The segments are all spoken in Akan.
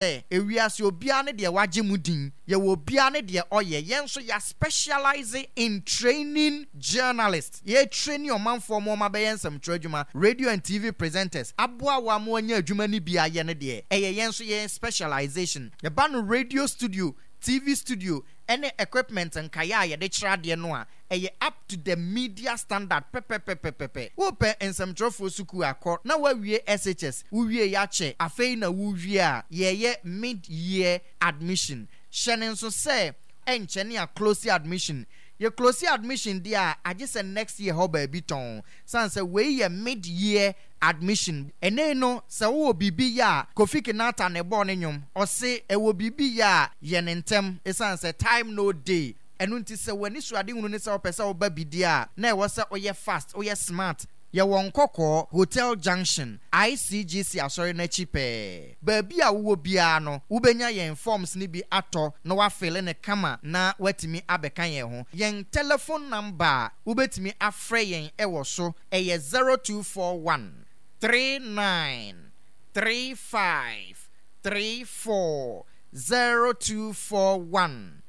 Sɛ ewiase obiara ne deɛ wagye mu din, yɛwɔ obiara ne deɛ ɔyɛ, yɛn nso yɛ specialise in training journalists, yɛ traini ɔmanfoɔ ma wɔn abɛyɛ nsɛmtwerɛ adwuma, radio and TV presenters, aboa wo ama wanya adwuma no bi ayɛ no deɛ, ɛyɛ yɛn nso yɛn specialization. Yɛba no radio studio, TV studio, ɛne equipment nkaeɛ a yɛde kyerɛ adeɛ no a, ɛyɛ up to the media standard pɛpɛpɛpɛpɛ. Wopɛ nsɛmtwerɛfoɔ sukuu akɔ na woawie SHS, wowie akyɛ, afei na wowie a, yɛyɛ mid-year admission. Hyɛ no nso sɛ ɛnkyɛ ne a-close admission. Yɛ close admission deɛ a, agye sɛ next year hɔ baabi tɔn. Sane sɛ wei yɛ mid-year admission. Ɛnnɛ yi no, sɛ wowɔ biribi yɛ a, Kofi Kinata na ɛbɔɔ ne nnwom. Ɔse, ɛwɔ biribi yɛ a, yɛ no ntɛm, ɛsiane sɛ time no dey. Ɛno nti sɛ w'anisoadehunu ne sɛ wopɛ sɛ woba bi deɛ a, na ɛwɔ sɛ woyɛ fast, woyɛ smart. Yɛwɔ Nkɔkɔɔ, Hotel Junction, ICGC Asɔre no akyi pɛɛ. Baabi a wowɔ biara no, wobɛnya yɛn forms no bi atɔ na woafille no kama na woatumi abɛka yɛn ho. Yɛn telephone number a wobɛtumi afrɛ yɛn wɔ so yɛ 0241 39 35 34, 0241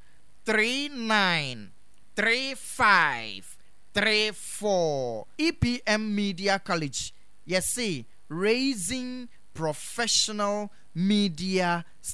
39 35 34. EPM Media College, yɛse raising professional media.